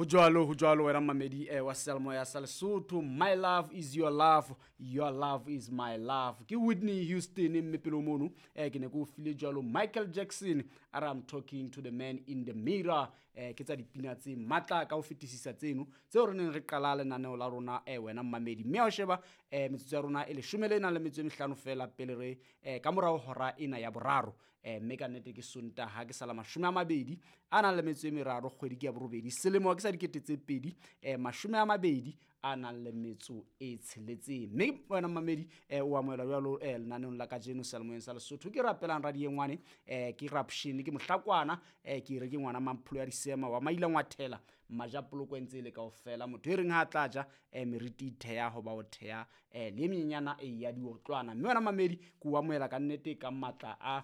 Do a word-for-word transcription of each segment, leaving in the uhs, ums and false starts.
Ho jwalo, ho jwalo wena mmamedi eh, wa seyalemoya sa Lesotho. My love is your love, your love is my love. Ke Whitney Houston mme pele mono eh, ke ne ke o file jwalo Michael Jackson a re I'm talking to the man in the mirror. Eh, ke tsa dipina tse matla ka ho fetisisa tseno tseo re neng re qala lenaneo la rona eh, wena mmamedi. Mme ha o sheba eh, metsotso ya rona e leshome le nang le metso e mehlano fela pele re eh, ka morao hora ena ya boraro. Eh, mme ka nnete ke Sontaha ke sala mashome a mabedi a nang le metso e meraro kgwedi ke ya borobedi selemo ke sa dikete tse pedi eh, mashome a mabedi a nang le metso e tsheletseng. Mme wena mmamedi eh, o amohela jwalo eh, lenaneong la kajeno seyalemoyeng sa Lesotho. Ke rapelang radiengwane eh, ke Rapshini ke mohlakwana eh, ke re ke ngwana Mampholo ya Disema wa Maila Ngwathela Majapoloko e ntse e le kaofela motho e reng ha a tla ja eh, meriti e theha hoba o theha eh, le e menyenyana e ya diotlwana. Mme wena mmamedi ke o amohela ka nnete ka matla a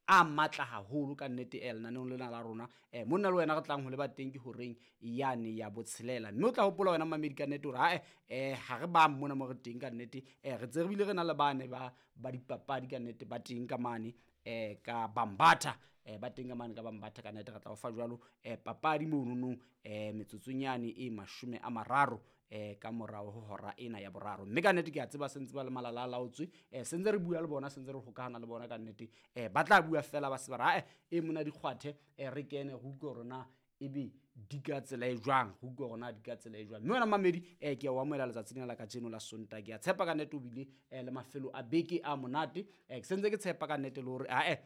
a matla haholo ka nnete eh, lenaneong lena la rona eh, monna le wena re tlang ho leba teng ke horeng yane ya botshelela. Mme o tla hopola wena mmamedi ka nnete hore hae eh, ha re bang mona mo re teng ka nnete eh, re tse re bile re na le bane ba ba dipapadi ka nnete ba teng ka mane eh, ka Bambatha eh, ba teng ka mane ka Bambatha ka nnete re tla o fa jwalo eh, papadi mononong eh, metsotsong yane e mashome a mararo eh, ka morao ho hora ena ya boraro. Mme ka nnete ke a tseba sentse ba le malala a laotswe eh, sentse re bua le bona sentse re hokahana le bona ka nnete eh, ba tla bua fela ba se ba re ae e mona dikgwathe eh, re kene re utlwe hore na ebe di ka tsela e jwang, re utlwe hore na di ka tsela e jwang. Mme wena mmamedi eh, ke a o amohela letsatsi lena la kajeno la Sontaha. Ke a tshepa ka nnete o bile eh, le mafelo a beke a monate eh, ke sentse ke tshepa ka nnete le hore ae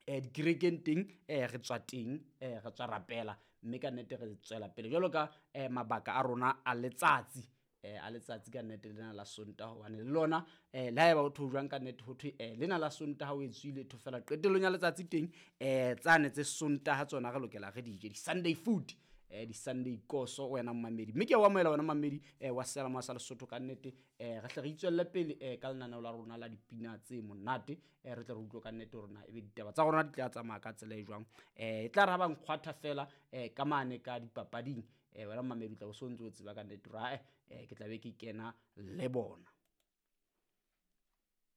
eh, dikerekeng teng eh, re tswa teng eh, re tswa rapela mme ka nnete re tswela pele jwalo ka eh, mabaka a rona a letsatsi eh, a letsatsi ka nnete lena la Sontaha hobane le lona eh, le haeba ho thwe jwang ka nnete ho thwe eh, lena la Sontaha o e tswile tho fela qetellong ya letsatsi teng eh, tsane tse Sontaha tsona re lokela re di je di-Sunday food eh, di-Sunday koso wena mmamedi. Mme ke a o amohela wena mmamedi eh, wa seyalemoya sa Lesotho ka nnete eh, re hle re itswelle pele eh, ka lenaneo la rona la dipina tse monate eh, re tle re utlwe ka nnete hore na ebe ditaba tsa rona di tla tsamaya ka tsela e jwang. Eh, e tla re ha ba nkgwatha fela eh, ka mane ka dipapading eh, wena mmamedi o tla bo so ntse o tseba ka nnete hore ae eh, ke tla be ke kena le bona.